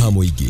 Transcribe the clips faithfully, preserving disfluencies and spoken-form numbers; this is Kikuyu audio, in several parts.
Ha mũingĩ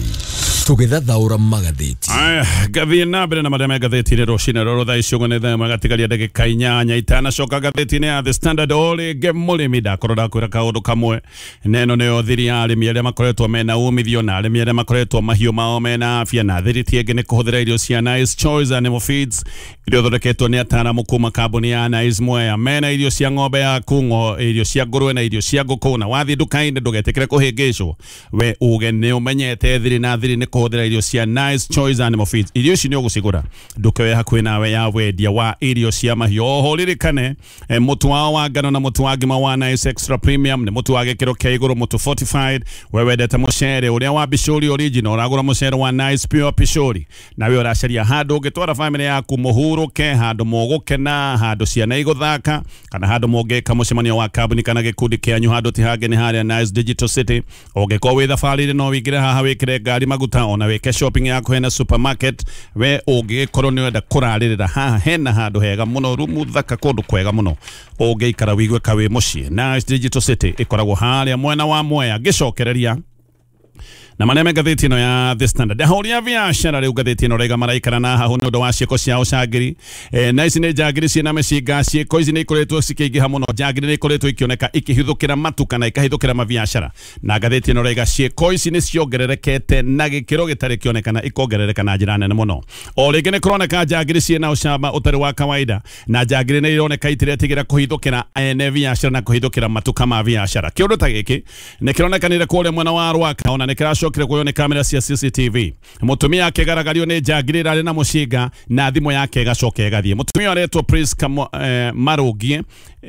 tũgĩthathaũra magathĩti. Aya, ngathiĩ na mbere na marĩa me ngathĩti-inĩ rũcinĩ rũrũ. Thaa ici ũguo nĩ thaa ĩmwe gatigaria ndagĩka inyanya itanacoka ngathĩti-inĩ ya The Standard. O rĩngĩ mũrĩmi ndakorwo ndakwĩra kaũndũ kamwe, na ĩno nĩyo thiri ya arĩmi arĩa makoretwo mena umithio na arĩmi arĩa makoretwo mahiũ mao mena afya, na thiri ti ĩngĩ nĩ kũhũthĩra irio cia Nice Choice Animal Feeds iria ithondeketwo nĩ ataaramu kuma kambuni ya Nice Mwea. Mena irio cia ng'ombe yaku, ng'o irio cia ngũrwe na irio cia ngũkũ, na wathiĩ nduka-inĩ ndũgetĩkĩre kũhĩngĩcwo, we uge nĩ ũmenyete thiri na thiri nĩ kũhũthĩra irio cia Nice Choice Animal Feeds. Irio ici nĩ ũgũcigũra nduka ĩyo hakuhĩ nawe ya wendia wa irio cia mahiũ. Oho ririkane eh, mũtu wao wa ngano na mũtu wa ngima wa Nice Extra Premium nĩ mũtu wa gĩkĩro kĩa igũrũ, mũtu fortified. We wendete mũcere ũrĩa wa Bishori original, ũragũra mũcere wa Nice Pure Pishori, nawe ũracaria handũ ũngĩtwara family yaku mũhurũke, handũ mũgũkena, handũ ciana igũthaka, kana handũ mũngĩka mũcemanio wa kambuni kana gĩkundi kĩanyu, handũ ti hangĩ nĩ harĩa Nice Digital City. Ũngĩkorwo wĩ thabarĩ-inĩ no wĩingĩre haha wĩkĩre ngari maguta, ona wĩke shopping yaku hena supermarket. We ũngĩgĩkorwo nĩ ũrenda kũrarĩrĩra haha hena handũ hega mũno, rumu thaka, kũndũ kwega mũno ũngĩikara wĩigue ka wĩ mũciĩ. Nice Digital City ĩkoragwo harĩa mwena wa Mwea. Ngĩcokereria na marĩa me ngathĩti ĩno ya The Standard, ahũri a biacara rĩu ngathĩti ĩno raiga maraikara na hahu nĩ ũndũ wa ciĩko cia ũcangĩri. E, na ici nĩ njangiri ciĩna mĩcinga. Ciĩko ici nĩ ikoretwo cikĩingĩha mũno. Njangiri nĩ ikoretwo ikĩoneka ikĩhithũkĩra matuka na ikahithũkĩra mabiacara, na ngathĩti ĩno raiga ciĩko ici nĩ ciongererekete na gĩkĩro gĩtarĩ kĩonekana, ikongerereka na njĩra nene mũno. O rĩngĩ nĩ kũroneka njangiri ciĩna ũcamba ũtarĩ wa kawaida, na njangiri nĩ ironeka itiretigĩra kũhithũkĩra ene biacara na kũhithũkĩra matuka ma biacara. Kĩũndũ ta gĩkĩ nĩ kĩronekanire kũrĩa mwena wa Rwaka, ona nĩ kĩracokire kuoywo nĩ kamera cia C C T V. Mũtumia akĩgaragario nĩ njangiri ĩrarĩ na mũcinga na thimũ yake ĩgacoka ĩgathiĩ. Mũtumia aretwo Priska eh, Marũngie,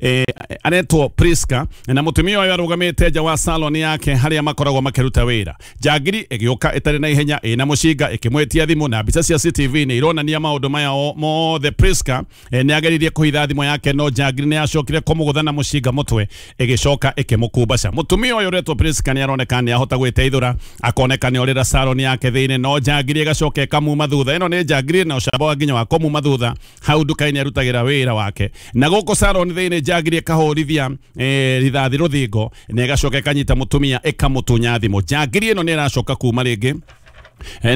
eh, aretwo Priska, na mũtumia ũyũ arũgamĩte nja wa salon yake harĩa makoragwo makĩruta wĩra. Njangiri ĩgĩũka ĩtarĩ na ihenya ĩna mũcinga ĩkĩmwĩtia thimũ, na mbica cia C C T V nĩ ironania maũndũ maya mothe. Priska eh, nĩ ageririe kũhitha thimũ yake, no njangiri nĩ yacokire kũmũgũtha na mũcinga mũtwe ĩgĩcoka ĩkĩmũkumbaca. Mũtumia ũyũ ũretwo Priska nĩ aroneka nĩ ahota gwĩteithũra, akoneka nĩ orĩra salon yake thĩinĩ, no njangiri ĩgacoka ĩkamuma thutha. Ĩno nĩ njangiri na ũcamba wa nginya wa kũmuma thutha hau nduka-inĩ arutagĩra wĩra wake, na gũkũ salon thĩinĩ njangiri ĩkahũrithia eh, rithathi rũthingo na ĩgacoka ĩkanyita mũtumia ĩkamũtunya thimũ. Njangiri ĩno nĩ ĩracoka kuma rĩngĩ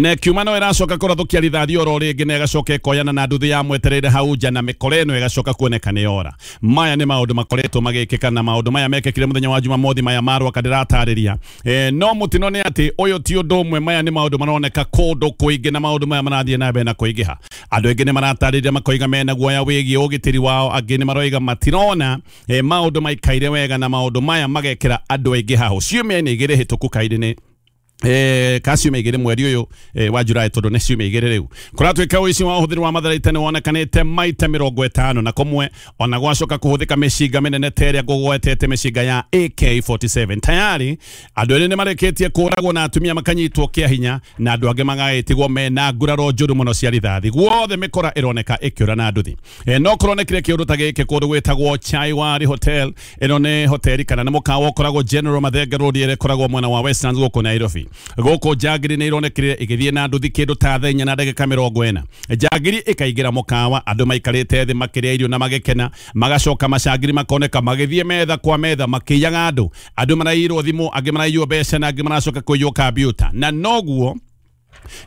na kiuma no ĩracoka kũrathũkia rithathi oro rĩngĩ na ĩgacoka ĩkoyana na nduthi ya mwetereire hau nja, na mĩkora ĩno ĩgacoka kuoneka nĩ yora. Maya nĩ maũndũ makoretwo magĩkĩka, na maũndũ maya mekĩkire mũthenya wa Jumamothi, maya ma Rwaka ndĩratarĩria. E, no mũtino nĩ atĩ ũyũ ti ũndũ ũmwe, maya nĩ maũndũ maroneka kũndũ kũingĩ, na maũndũ maya marathiĩ na mbere na kũingĩha. Andũ aingĩ nĩ maratarĩria makoiga mena guoya wĩgiĩ ũgitĩri wao, angĩ nĩ maroiga matirona e, maũndũ maikaire wega, na maũndũ maya magekĩra andũ aingĩ haho. Ciumia-inĩ igĩrĩ hĩtũku kairĩ-inĩ eh kaciumia igĩrĩ mweri ũyũ eh, wa Julai, tondũ nĩ ciumia igĩrĩ rĩu, kũratuĩka ũici wa ũhũthĩri wa matharaita nĩ wonekanĩte maita mĩrongo ĩtano na kũmwe, ona gwacoka kũhũthĩka mĩcinga mĩnene ta ĩrĩa ngũgwetete, mĩcinga ya A K forty-seven. Tayari andũ erĩ nĩ marĩkĩtie kũũragwo na atumia makanyitwo kĩa hinya, na andũ angĩ magagĩtigwo mena nguraro njũru mũno cia rithathi. Guothe mĩkora ĩroneka ĩkĩũra na nduthi. E, no kũronekire kĩũndũ ta gĩkĩ kũndũ gwĩtagwo Chaiwari Hotel. Ĩno nĩ hoteli kana nĩ mũkawa ũkoragwo General Mathenge Road ĩrĩa ĩkoragwo mwena wa Westlands gũkũ Nairobi. Gũkũ njangiri nĩ ironekire ĩgĩthiĩ na nduthi kĩndũ ta thaa inya na ndagĩka mĩrongo ĩna. Njangiri ĩkaingĩra mũkawa, andũ maikarĩte thĩ makĩrĩa irio na magĩkena, magacoka macangiri makoneka magĩthiĩ metha kwa metha makĩiyaga andũ. Andũ maraiyirwo thimũ, angĩ maraiywo mbeca na angĩ maracoka kũiywo kambiuta. Na noguo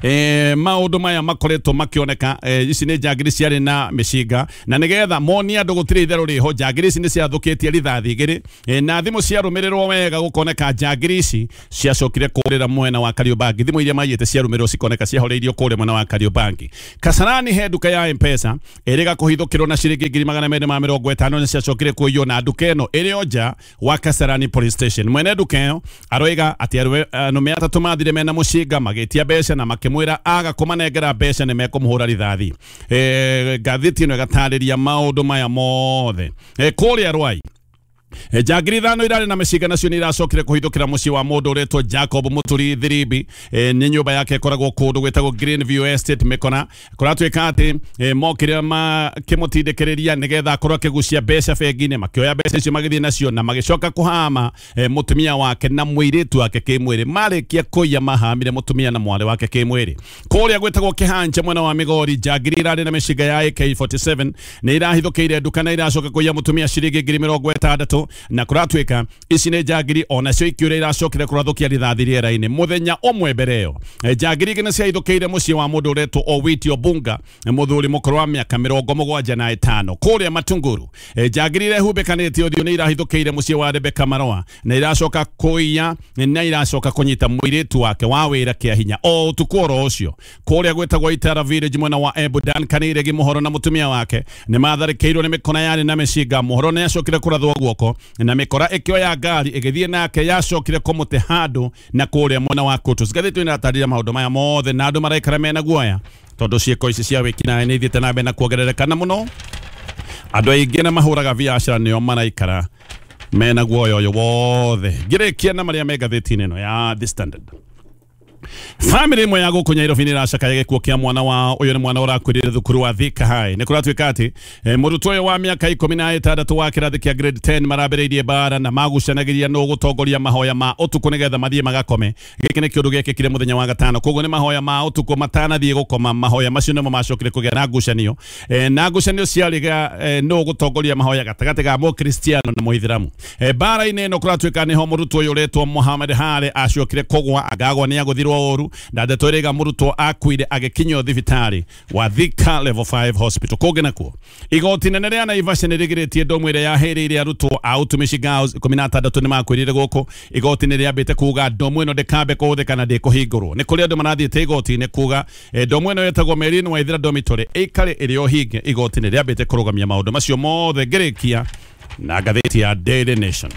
Eh, maũndũ maya makoretwo makĩoneka. Eh, ici nĩ njangiri ciarĩ na mĩcinga, na nĩgetha monie andũ gũtirĩ itherũ rĩho, njangiri ici nĩ ciathũkĩtie rithathi igĩrĩ, eh, na thimũ ciarũmĩrĩrwo wega gũkoneka njangiri ici ciacokire kũrĩra mwena wa Kariobangi. Thimũ iria maiyĩte ciarũmĩrĩrwo cikoneka ciahoreirio kũrĩa mwena wa Kariobangi. Kasarani he nduka ya M-Pesa ĩrĩga kũhithũkĩrwo na ciringi ngiri magana merĩ ma mĩrongo ĩtano nĩ ciacokire kũiywo, na nduka ĩno ĩrĩ o nja wa Kasarani Police Station. Mwene nduka ĩyo aroiga atĩ arũme atatũ mathire mena mũcinga magĩtia mbeca na makĩmwĩra aga kũmanengera mbeca nĩ mekũmũhũra rithathi. E, ngathĩti ĩno ĩgatarĩria maũndũ maya mothe. E, kũrĩa Rwai njangiri ithano irarĩ na mĩcinga nacio nĩ iracokire kũhithũkĩra mũciĩ wa mũndũ ũretwo Jacob Mũturi Thiribi. E, nĩ nyũmba yake ĩkoragwo kũndũ gwĩtagwo Greenview Estate Mĩkona. Kũratuĩka atĩ e, mokire makĩmũtindĩkĩrĩria nĩgetha akorwo akĩgucia mbeca bengi-inĩ, makĩoya mbeca icio magĩthiĩ nacio na magĩcoka kũhama e, mũtumia wake na mũirĩtu wake kĩmwĩrĩ. Marĩkia kũiya mahamire mũtumia na mwarĩ wake kĩmwĩrĩ. Kũrĩa gwĩtagwo Kĩhanja mwena wa Migori, njangiri irarĩ na mĩcinga ya A K forty-seven nĩ irahithũkĩire nduka na iracoka kũiya mũtumia ciringi ngiri mĩrongo ĩtandatũ. ithatũ na kũratuĩka ici nĩ njangiri onacio ikiũrĩa iracokire kũrathũkia rithathi rĩera-inĩ mũthenya ũmwe mbere ĩyo. Njangiri igĩ nĩ ciahithũkĩire mũciĩ wa mũndũ ũretwo Owiti Obunga, mũthuri mũkũrũ wa mĩaka mĩrongo mũgwanja na ĩtano kũrĩa Matunguru. Njangiri irehumbĩkanĩtie ũthiũ nĩ irahithũkĩire mũciĩ wa Rebecca Maroa na iracoka kũiya na iracoka kũnyita mũirĩtu wake wa wĩra kĩa hinya o ũtukũ oro ũcio. Kũrĩa gwĩtagwo Itara Village mwena wa Embu, Duncan Iregi Mũhoro na mũtumia wake nĩ matharĩkĩirwo nĩ mĩkora yarĩ na mĩcinga. Mũhoro nĩ acokire kũrathwo guoko na mĩkora ĩkĩoya ngari ĩgĩthiĩ nake yacokire kũmũte handũ na kũrĩa mwena wa Kutus. Ngathĩti ĩno ĩratarĩria maũndũ maya mothe na andũ maraikara mena guoya tondũ ciĩko ici cia wĩkinaĩ nĩ ithiĩte na mbere na kuongerereka na mũno andũ aingĩ na mahũraga biacara nĩo maraikara mena guoya ũyũ wothe. Ngĩrĩkia na marĩa me ngathĩti-inĩ ĩno ya The Standard. Family ĩmwe ya gũkũ Nairobi nĩ ĩracakaya gĩkuũ kĩa mwana wao. Ũyũ nĩ mwana ũrakuĩrĩire thukuru wa Thika High. Nĩ kũratuĩka atĩ mũrutwo ũyũ wa mĩaka ikũmi na ĩtandatũ wa kĩrathi kĩa grade ten marambĩrĩirie mbara na magucanagĩria nũ gũtongoria mahoya ma ũtukũ nĩgetha mathiĩ magakome. Gĩkĩ nĩ kĩũndũ gĩekĩkire mũthenya wa gatano, koguo nĩ mahoya ma ũtukũ matanathiĩ gũkoma. Mahoya macio nĩmo macokire kũgĩa na ngucanio, na ngucanio ciarĩ nũ gũtongoria mahoya gatagatĩ ga Mũkristiano na Mũithĩramu. Mbara-inĩ ĩno kũratuĩka nĩho mũrutwo ũyũ ũretwo Mohamed Hale acokire kũgwa agagwa nĩ agũthirwo ũru na ndeto ĩrĩga mũrutwo akuire agĩkinyio thibitarĩ wa Thika Level five Hospital. Kũngĩ nakuo igoti nene rĩa Naivasha nĩ rĩgirĩtie ndomu ĩrĩa yahĩrĩire arutwo a Utumishi Girls ikũmi na atandatũ nĩ makuĩrĩire gũkũ. Igoti nĩ rĩambĩte kuga ndomu ĩno ndĩkambe kũhũthĩka na ndĩkũhingũrwo. Nĩ kũrĩ andũ marathiĩte igoti-inĩ kuga ndomu ĩno ĩtagwo Merlin Waithera Dormitory ĩikare ĩrĩ o hinge. Igoti nĩ rĩambĩte kũrũgamia maũndũ macio mothe. Ngĩrĩkia na ngathĩti ya Daily Nation.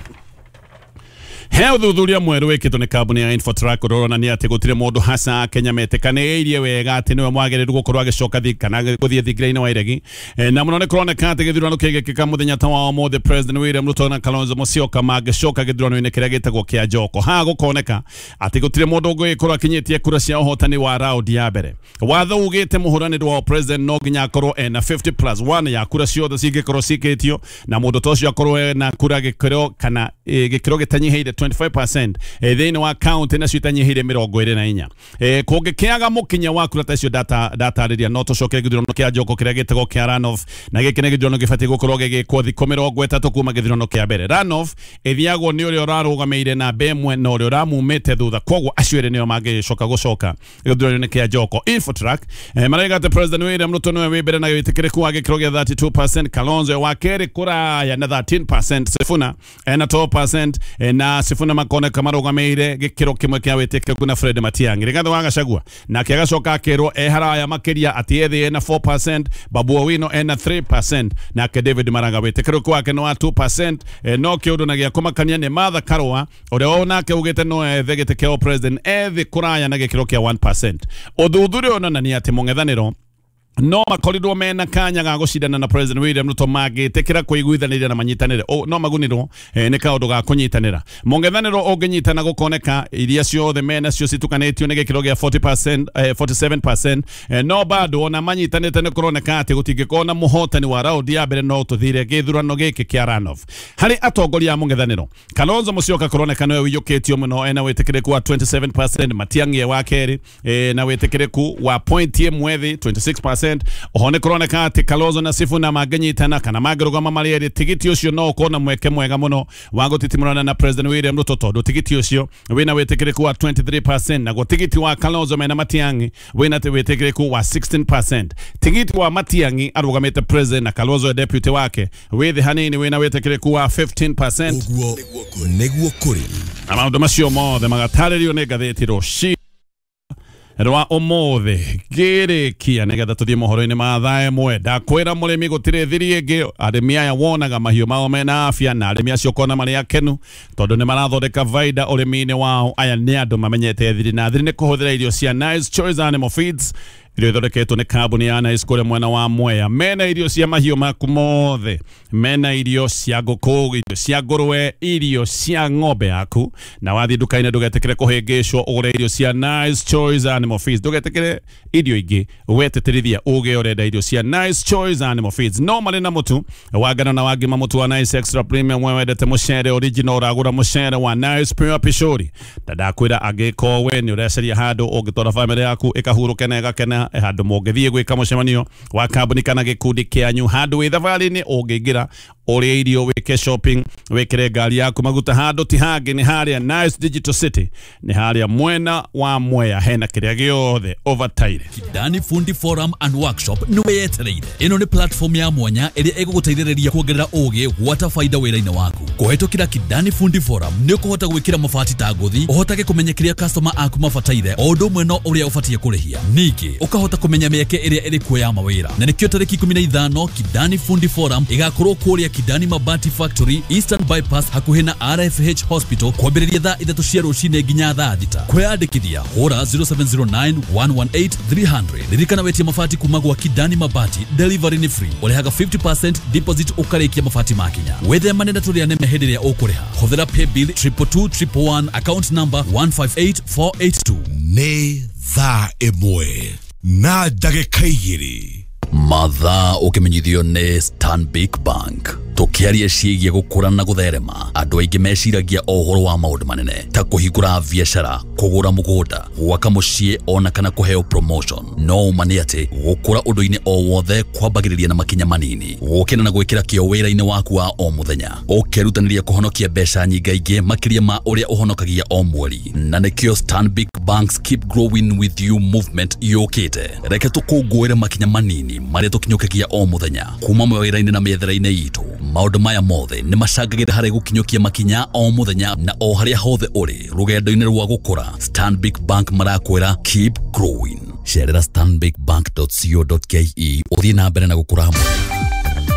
He ũthuthuria mwerũ wĩkĩtwo nĩ kambuni ya Infotrack ũronania atĩ gũtirĩ mũndũ haca Kenya metĩkanĩirie wega atĩ nĩwe mwagĩrĩru gũkorwo agĩcoka kana gũthiĩ thingira-inĩ wa iregi. Na mũno nĩ kũroneka atĩ gĩthurano kĩngĩkĩka mũthenya ta wa ũmũthĩ, President William Ruto na Kalonzo Musyoka mangĩcoka gĩthurano-inĩ kĩrĩa gĩtagwo kĩa Njoko. Haha gũkoneka atĩ gũtirĩ mũndũ ũngĩkorwo akinyĩtie kura cia ũhotani wa raundi ya mbere. Watho ugĩte mũhũranĩri wa president no nginya akorwo ena fifty plus one ya kura ciothe cingĩkorwo cikĩtio, na mũndũ ta ũcio akorwo ena kura gĩkĩro kana gĩkĩro gĩtanyihĩire twenty-five percent thĩinĩ wa county nacio itanyihĩire mĩrongo ĩrĩ na inya. Kũngĩkĩaga mũkinya wa kura ta icio ndatarĩria, no tũcoke gĩthurano kĩa Njoko kĩrĩa gĩtagwo kĩa runoff, na gĩkĩ nĩ gĩthurano gĩbatiĩ gũkorwo gĩgĩkwo thikũ mĩrongo ĩtatũ kuma gĩthurano kĩa mbere. Runoff ĩthiagwo nĩ ũrĩa ũrarũgamĩire namba ĩmwe na ũrĩa ũramumĩte thutha, koguo acio erĩ nĩo mangĩcoka gũcoka gĩthurano-inĩ kĩa Njoko. Infotrack maraiga atĩ President William Ruto nĩwe wĩ mbere na wĩtĩkĩrĩku wa gĩkĩro gĩa thirty-two percent, Kalonzo wa kerĩ kũraya na thirteen percent, Sifuna ena twelve percent, na Sifuna makoneka marũgamĩire gĩkĩro kĩmwe kĩa wĩtĩkĩrĩku na Fred Matiang'i. Rigathi wa Gachagua nake agacoka akerwo e haraya makĩria atĩ ethĩ ena four percent, Babu Owino ena three percent, nake David Maraga wĩtĩkĩrĩku wake no wa two percent. No kĩũndũ na gĩa kũmakania nĩ Martha Karua ũrĩa onake ugĩte no ethe gĩtĩ kĩa president ethĩ kũraya na gĩkĩro kĩa one percent. Ũthuthuria ũronania atĩ mũng'ethanĩro no makorirwo mena kanya ga gũcindana na President William Ruto mangĩtĩkĩra kũiguithanĩria na manyitanĩre, no magunirwo nĩ kaũndũ ga kũnyitanĩra. Mũng'ethanĩro ũngĩnyitana gũkoneka iria ciothe mena cio citukanĩtio nĩ gĩkĩro gĩa forty percent, forty-seven percent, no bado ona manyitanĩte nĩ kũroneka atĩ gũtingĩkorwo na mũhotani wa raundi ya mbere no tũthire gĩthurano gĩkĩ kĩa runoff. Harĩ atongoria a mũng'ethanĩro, Kalonzo Musyoka kũroneka nĩwe ũiyũkĩtio mũno ena wĩtĩkĩrĩku wa twenty-seven percent, Matiang'i wa kerĩ na wĩtĩkĩrĩku wa point ĩmwe thĩ twenty-six percent. Oho nĩ kũroneka atĩ Kalonzo na Sifuna mangĩnyitana kana mangĩrũgama marĩ erĩ, tigiti ũcio no ũkorwo na mweke mwega mũno wa gũtitimũrana na President William Ruto tondũ tigiti ũcio wĩna wĩtĩkĩrĩku wa twenty-three percent, naguo tigiti wa Kalonzo mena Matiang'i wĩna wĩtĩkĩrĩku wa sixteen percent. Tigiti wa Matiang'i arũgamĩte president na Kalonzo deputy wake wĩ thĩ hanini wĩna wĩtĩkĩrĩku wa fifteen percent. Ũguo nĩguo kũrĩ na maũndũ macio mothe magatarĩrio nĩ ngathĩti rũciũ rwa ũmũthĩ. Ngĩrĩkia nĩgetha tũthiĩ mohoro-inĩ ma thaa ĩmwe, ndakwĩra mũrĩmi gũtirĩ thiri ĩngĩ. Arĩmi aya wonaga mahiũ mao mena afya na arĩmi acio ũkona marĩ akenu tondũ nĩ marathondeka vaida ũrĩmi-inĩ wao. Aya nĩ andũ mamenyete thiri, na thiri nĩ kũhũthĩra irio cia Nice Choice Animal Feeds irio ithondeketwo nĩ kambuni ya Nice kũrĩa mwena wa Mwea. Mena irio cia mahiũ maku mothe, mena irio cia ngũkũ, irio cia ngũrwe, irio cia ng'ombe yaku. Na wathiĩ nduka-inĩ ndũgetĩkĩre kũhĩngĩcwo ũgũre irio cia Nice Choice Animal Feeds. Ndũgetĩkĩre irio ingĩ, wetĩtĩrithia uge ũrenda irio cia Nice Choice Animal Feeds. No marĩ na mũtu wa ngano na wa ngima, mũtu wa Nice Extra Premium. We wendete mũcere original, ũragũra mũcere wa Nice Pure Pishori. Na ndakwĩra angĩkorwo we nĩ ũreceria handũ ũngĩtwara bamĩrĩ yaku ĩkahurũke na ĩgakena, handũ mũngĩthiĩ gwĩka mũcemanio wa kambuni kana gĩkundi kĩanyu, handũ wĩ thabarĩ-inĩ ũngĩingĩra Ũrĩe irio, wĩke shopping, wĩkĩre ngari yaku maguta. Handũ ti hangĩ, nĩ harĩa Nice Digital City, nĩ harĩa mwena wa Mwea, hena kĩrĩa gĩothe ũbataire. Kidani Fundi Forum and Workshop nĩ wetereire. Ĩno nĩ platform ya mwanya ĩrĩa ĩgũgũteithĩrĩria kuongerera ũgĩ gwata faida wĩra-inĩ waku. Kũhetũkĩra Kidani Fundi Forum nĩ ũkũhota gwĩkĩra mabati ta ngũthi, ũhotage kũmenya kĩrĩa customer aku mabataire o ũndũ ũmwe no ũrĩa ũbatiĩ kũrĩhia. Ningĩ ũkahota kũmenya mĩeke ĩrĩa ĩrĩ kuo ya mawĩra. Na nĩkĩo tarĩki ikũmi na ithano Kidani Fundi Forum ĩgakorwo kũrĩa Kidani Mabati Factory, Eastern Bypass, hakuhĩ na R F H Hospital, kwambĩrĩria thaa ithatũ cia rũcinĩ nginya thaa thita. Kwĩyandĩkithia hũra zero seven zero nine one one eight three hundred. Ririkana wetie mabati kuma gwa Kidani Mabati, delivery nĩ free. Ũrĩhaga fifty percent deposit ũkarĩkia mabati makinya. Wĩthemane na tũrĩa neme hĩndĩ ĩrĩa ũkũrĩha. Hũthĩra paybill triple two triple one, account number one five eight four eight two. Nĩ thaa ĩmwe na ndagĩka igĩrĩ. Mathaa ũkĩmenyithio nĩ Stanbic Bank. Tũkĩaria ciĩgiĩ gũkũra na gũtherema, andũ aingĩ meciragia o ũhoro wa maũndũ manene ta kũhingũra biacara, kũgũra mũgũnda, gwaka mũciĩ ona kana kũheo promotion. No ũma nĩ atĩ gũkũra ũndũ-inĩ o wothe kwambagĩrĩria na makinya manini, gũkĩra na gwĩkĩra kĩo wĩra-inĩ waku wa o mũthenya, ũkerutanĩria kũhonokia mbeca nyingaingĩ makĩria ma ũrĩa ũhonokagia o mweri. Na nĩkĩo Stanbic Bank's Keep Growing With You movement yũkĩte. Reke tũkũngũĩre makinya manini marĩa tũkinyũkagia o mũthenya kuma mawĩra-inĩ na mĩethere-inĩ itũ. Maũndũ maya mothe nĩ macangagĩra harĩ gũkinyũkia makinya o mũthenya na o harĩa hothe ũrĩ rũgendo-inĩ rwa gũkũra. Stanbic Bank marakwĩra keep growing. Cerera stanbic bank dot co dot ke ũthiĩ na mbere na gũkũra hamwe.